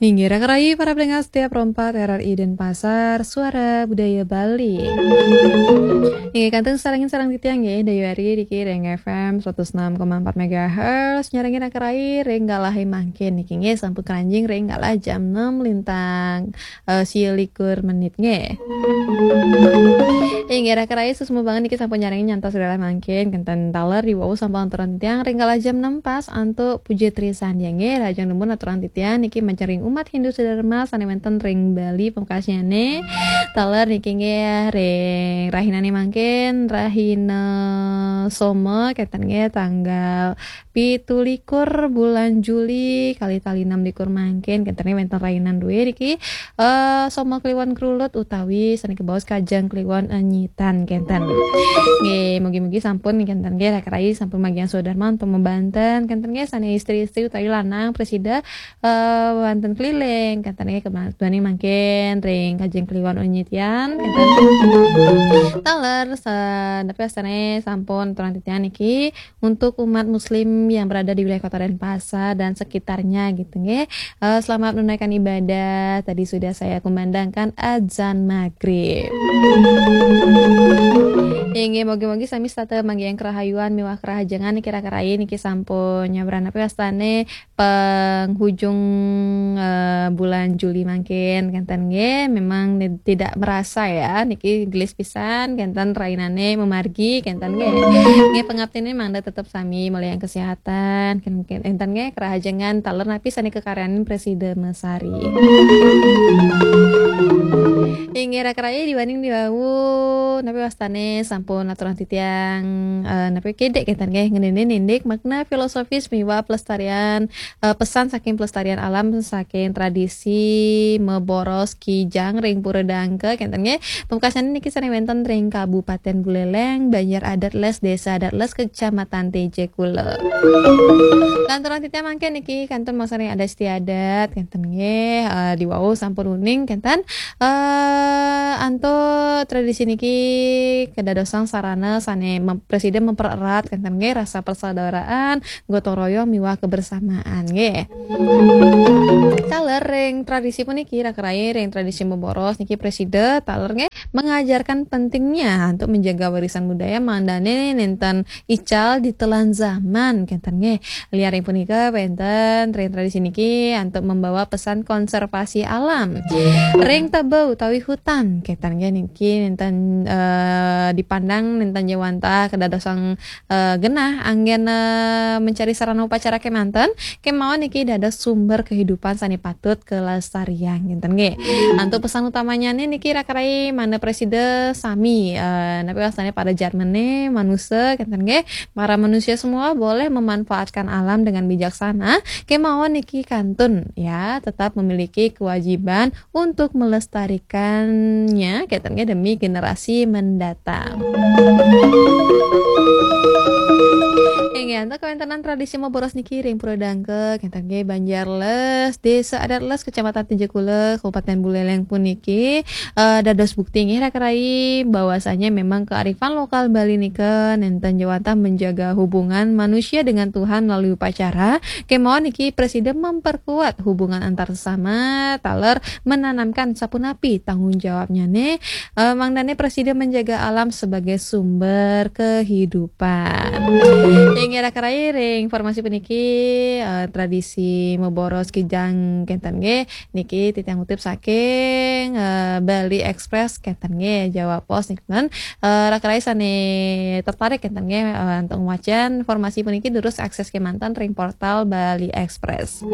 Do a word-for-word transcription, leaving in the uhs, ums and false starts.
Inggih, raka rayi para pendengar setia Pro empat R R I Denpasar, Suara Budaya Bali. Inggih, kantun sareng-sareng titiang nggih, Dayu Ari niki ring F M seratus enam koma empat megahertz, nyarengin raka rayi ring galahé mangkin niki nggih, sampun kranjing ring galah jam enam lintang, eh, sia likur menit nggih. Inggih, raka rayi suksma banget niki sampun nyarengin nyantos galah mangkin, kenten taler diwau sampun aturang titiang ring galah jam enam pas antuk puja trisandya nggih, lajeng dumun aturang titiang niki majeng ring umat Hindu sedharma sané wénten ring Bali pungkasnyané. Taler niki nggih ring rahinané mangkin, rahina Soma, kenten nggih tanggal pitu likur bulan Juli, kalih tali enam likur mangkin, kenten nggih wénten rainan dué niki, eh, Soma Kliwon Krulut utawi sané kabaos Kajeng Kliwon Enyitan, kenten. Nggih, mugi-mugi sampun kenten nggih, raka rayi sampun magian swadarma untuk mabanten, kenten nggih, sané istri-istri utawi lanang prasida, eh, wénten keliling, kenten nggih, kema-, duaning mangkin ring Kajeng Kliwon Enyitan, kenten. Taler, sa-, napi wastané sampun aturang titiang niki untuk umat muslim yang berada di wilayah Kota Denpasar dan sekitarnya gitu nggih. Eh, selamat menunaikan ibadah. Tadi sudah saya kumandangkan azan maghrib. Inggih, mugi-mugi sami setata manggihin kerahayuan miwah kerahajengan niki raka rayi niki sampun nyabran napi wastané penghujung, eh, bulan Juli mangkin, kenten nggih. Memang ni-, tidak merasa ya, niki gelis pisan, kenten rainané mamargi, kenten nggih. Nggih, pangaptiné mangda tetep sami muliakan kesehatan, ken-, ken-, kenten nggih, kerahajengan taler napi sané kakaryanin prasida masari. Inggih, raka rayi, duaning diwau, napi wastané sampun aturang titiang, eh, napi kidik kenten nggih, ngeninin indik makna filosofis miwah pelestarian, eh, pesan saking pelestarian alam saking tradisi maboros kijang ring Pura Dangka kenten nggih. Pungkasnyané niki sané wénten ring Kabupaten Buleleng, Banjar Adat Les, Desa Adat Les, Kecamatan Tejekula. Lanturang titiang mangkin niki kantun masaring adat istiadat kenten nggih, eh, diwau sampun uning kenten, eh, antuk tradisi niki kadadosang sarana sané mem-, prasida mempererat kenten nggih rasa persaudaraan, gotong royong miwah kebersamaan nggih. Taler ring tradisi puniki raka rayi ring tradisi maboros niki prasida taler nggih mengajarkan pentingnya untuk menjaga warisan budaya mangdané nénten ical ditelan zaman kenten nggih. Lianing punika wénten ring tradisi niki antuk membawa pesan konservasi alam. Ring tebel utawi hutan kenten nggih niki nénten, eh, dipandang nénten jawantah kadadosang, eh, genah anggén, eh, mencari sarana upacara kémanten, kémaon niki dados sumber kehidupan sané patut kelestarian kenten nggih. Antuk pesan utamanya nih niki raka rayi mangda prasida sami, eh, napi wastané para jarmené manusa kenten nggih. Para manusia semua boleh memanfaatkan alam dengan bijaksana. Kémaon niki kantun ya, tetap memiliki kewajiban untuk melestarikannya kenten nggih demi generasi mendatang. Inggih, antuk kawéntenan tradisi maboros niki ring Pura Dangka kenten nggih Banjar Les, Desa Adat Les, Kecamatan Tejekula, Kabupaten Buleleng puniki, eh, dados bukti nggih raka rayi bahwasanya memang kearifan lokal Bali nika nénten jawantah menjaga hubungan manusia dengan Tuhan melalui upacara. Kémaon niki prasida memperkuat hubungan antar sesama, taler menanamkan sapunapi tanggung jawabnyané, eh, mangdané prasida menjaga alam sebagai sumber kehidupan. Inggih raka rayi ring informasi puniki, eh, tradisi maboros kijang kenten nggih. Niki titiang ngutip saking, eh, Bali Express kenten nggih, Jawa Post niki. Eh, raka rayi sané tertarik kenten nggih, eh, untuk ngwacén informasi puniki durus akses kémanten ring portal Bali Express.